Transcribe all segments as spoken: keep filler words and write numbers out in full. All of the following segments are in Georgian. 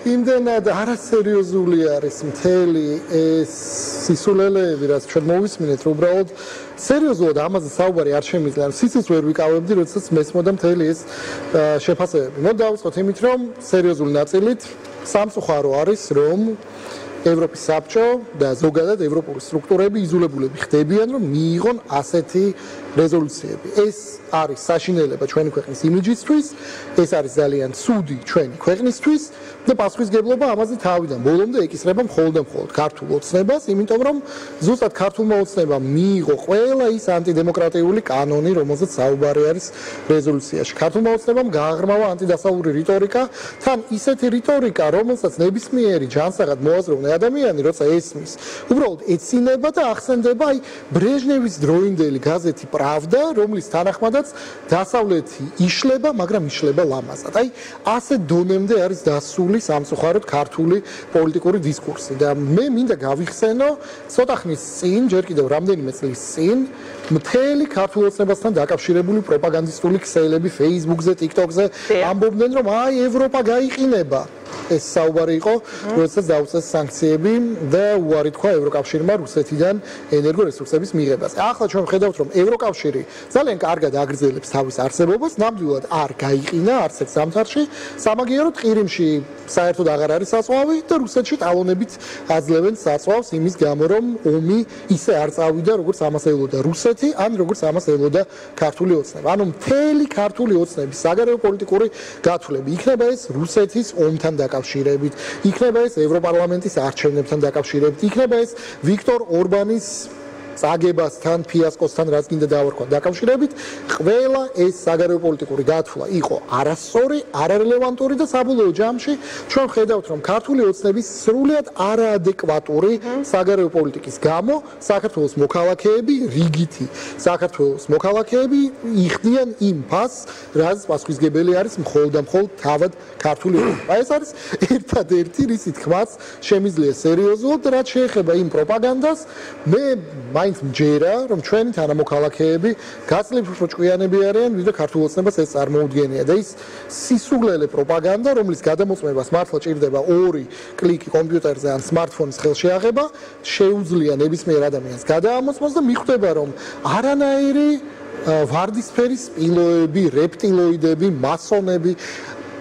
იმდენად არასერიოზული არის მთელი ეს სისულელეები, რაც ჩვენ მოვისმინეთ, რომ უბრალოდ სერიოზულად ამაზე საუბარი არ შემიძლია. სიცოცხლეს ვერ ვიკავებდი, როდესაც მესმოდა მთელი ეს შეფასებები. მოდ დავიწყოთ იმით, რომ სერიოზული ნაწილით სამწუხარო არის, რომ ევროპის საბჭო და ზოგადად ევროპული სტრუქტურები იზოლებულები ხდებიან, რომ მიიღონ ასეთი რეზოლუციები. ეს არის საშინელება ჩვენი ქვეყნის იმიჯისთვის, ეს არის ძალიან ცუდი ჩვენი ქვეყნისთვის და პასუხისგებლობა ამაზე თავიდან ბოლომდე ეკისრება მხოლოდ და მხოლოდ ქართულ ოცნებას, იმიტომ რომ ზუსტად ქართულმა ოცნებამ მიიღო ყველა ის ანტიდემოკრატიული კანონი, რომელზეც საუბარი არის რეზოლუციაში. ქართულმა ოცნებამ გააღრმავა ანტიდასავლური რიტორიკა, თან ისეთი რიტორიკა, რომელსაც ნებისმიერი ჯანსაღად მოაზროვნე ადამიანი, როცა ესმის, უბრალოდ ეცინება და ახსენდება აი ბრეჟნევის დროინდელი გაზეთი პრავდა, რომლის თანახმადაც დასავლეთი იშლება, მაგრამ იშლება ლამაზად. აი ასე დონემდე არის დასული სამწუხაროდ ქართული პოლიტიკური დისკურსი და მე მინდა გავიხსენო ცოტა ხნის წინ, ჯერ კიდევ რამდენიმე წლის წინ, მთელი ქართულ ოცნებასთან დაკავშირებული პროპაგანდისტული ქსელები Facebook-ზე, TikTok-ზე ამბობდნენ, რომ აი ევროპა გაიყინება. ეს საუბარი იყო, როდესაც დაუწეს სანქციები და უარი თქვა ევროკავშირმა რუსეთიდან ენერგორესურსების მიღებას. ახლა ჩვენ ვხედავთ, რომ ევროკავშირი ძალიან კარგად აგრძელებს თავის არსებობას, ნამდვილად არ გაიყინა არც ერთ ზამთარში, სამაგიეროდ ყირიმში საერთოდ აღარ არის საწვავი და რუსეთში ტალონებით აძლევენ საწვავს იმის გამო, რომ ომი ისე არ წავიდა, როგორც ამას ელოდა რუსეთი, ან როგორც ამას ელოდა ქართული ოცნება. ანუ მთელი ქართული ოცნების საგარეო პოლიტიკური გათვლები იქნება ეს რუსეთის ომთან დაკავშირებით, იქნება ეს ევროპარლამენტის არჩევნებთან დაკავშირებით, იქნება ეს ვიქტორ ორბანის წაგებასთან, ფიასკოსთან, რაც გინდა დავარქვა დაკავშირებით, ყველა ეს საგარეო პოლიტიკური გათვლა იყო არასწორი, არარელევანტური და საბოლოო ჯამში ჩვენ ვხედავთ, რომ ქართული ოცნების სრულიად არაადეკვატური საგარეო პოლიტიკის გამო საქართველოს მოქალაქეები, რიგითი საქართველოს მოქალაქეები იხდიან იმ ფასს, რაც პასუხისმგებელი არის მხოლოდ და მხოლოდ თავად ქართული ოცნება. ეს არის ერთადერთი, რისი თქმაც შემიძლია სერიოზულად, რაც შეეხება იმ პროპაგანდას, მე მაინც მჯერა, რომ ჩვენი თანამოქალაქეები გაწლიფრო ჭკვიანები არიან, ვიდრე ქართულ ოცნებას ეს წარმოუდგენია და ის სისულელე პროპაგანდა, რომლის გადამოწმებას მართლა ჭირდება ორი კლიკი კომპიუტერზე ან სმარტფონის ხელში აღება, შეუძლია ნებისმიერ ადამიანს გადაამოწმოს და მიხვდება, რომ არანაირი ვარდისფერი სპილოები, რეპტილოიდები, მასონები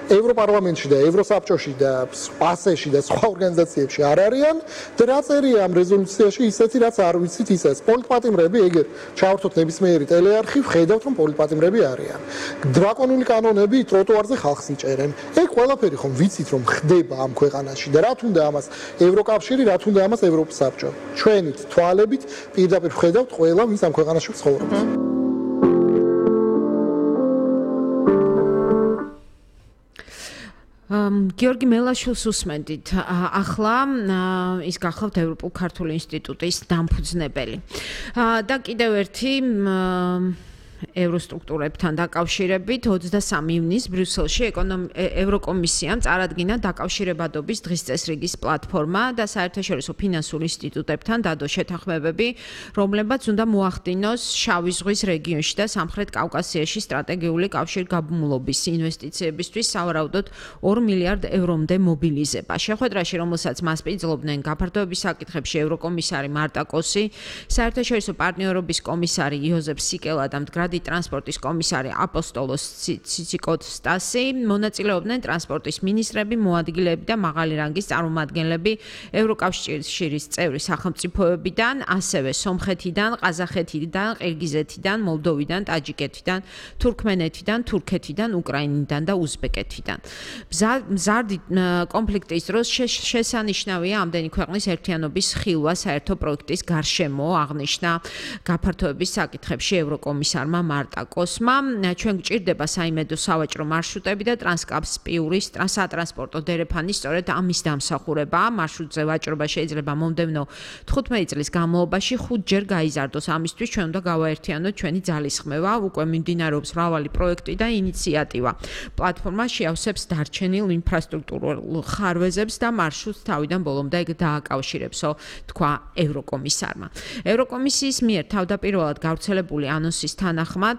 ევროპარლამენტში და ევროსაბჭოში და პასეში და სხვა ორგანიზაციებში არ არიან და რა წერია ამ რეზოლუციაში ისეთი, რაც არ ვიცით ისე. პოლიტპატიმრები, ეგერ ჩავართოთ ნებისმიერი ტელეარხი, ვხედავთ, რომ პოლიტპატიმრები არიან. დრაკონული კანონები ტროტუარზე ხალხს იჭერენ. ეგ ყველაფერი ხომ ვიცით, რომ ხდება ამ ქვეყანაში და რა თუნდა ამას ევროკავშირი, რა თუნდა ამას ევროპის საბჭო. ჩვენით თვალებით პირდაპირ ვხედავთ ყველა, ვინც ამ ქვეყანაში ცხოვრობს. გიორგი მელაშვილს უსმენდით. ახლა ის გახლავთ ევროპულ ქართული ინსტიტუტის დამფუძნებელი. და კიდევ ერთი ევროსტრუქტურებთან დაკავშირებით ოცდასამი ივნისს ბრიუსელში ევროკომისიამ წარადგინა დაკავშირებადობის დღის წესრიგის პლატფორმა და საერთაშორისო ფინანსურ ინსტიტუტებთან დადო შეთანხმებები, რომლებაც უნდა მოახდინოს შავი ზღვის რეგიონში და სამხრეთ კავკასიაში სტრატეგიული კავშირგაბმულობის ინვესტიციებისთვის სავარაუდოდ ორ მილიარდ ევრომდე მობილიზება. შეხვედრაში, რომელსაც მასპინძლობდნენ გაფართოების საკითხებში ევროკომისარი მარტა კოსი, საერთაშორისო პარტნიორობის კომისარი იოზეფ სიკელა და მდგრადი ტრანსპორტის კომისარი აპოსტოლოს ციციკოტსტასი, მონაწილეობდნენ ტრანსპორტის მინისტრები, მოადგილეები და მაღალი რანგის წარმომადგენლები ევროკავშირის წევრი სახელმწიფოებიდან, ასევე სომხეთიდან, ყაზახეთიდან, ყირგიზეთიდან, მოლდოვიდან, ტაჯიკეთიდან, თურქმენეთიდან, თურქეთიდან, უკრაინიდან და უზბეკეთიდან. მზარდი კონფლიქტის დროს შესანიშნავია ამდენი ქვეყნის ერთიანობის ხილვა საერთო პროექტის გარშემო, აღნიშნა გაფართოების საკითხებში ევროკომისარმა მარტა კოსმა. ჩვენ გვჭირდება საიმედო სავაჭრო მარშრუტები და ტრანსკასპიური სატრანსპორტო დერეფანი სწორედ ამის დამსახურება. მარშრუტზე ვაჭრობა შეიძლება მომდევნო თხუთმეტი წლის განმავლობაში ხუთჯერ გაიზარდოს. ამისთვის ჩვენ უნდა გავაერთიანოთ ჩვენი ძალისხმევა. უკვე მიმდინარეობს მრავალი პროექტი და ინიციატივა. პლატფორმა შეავსებს დარჩენილ ინფრასტრუქტურულ ხარვეზებს და მარშრუტს თავიდან ბოლომდე დააკავშირებსო, თქვა ევროკომისარმა. ევროკომისიის მიერ თავდაპირველად გავრცელებული ანონსის თანახმად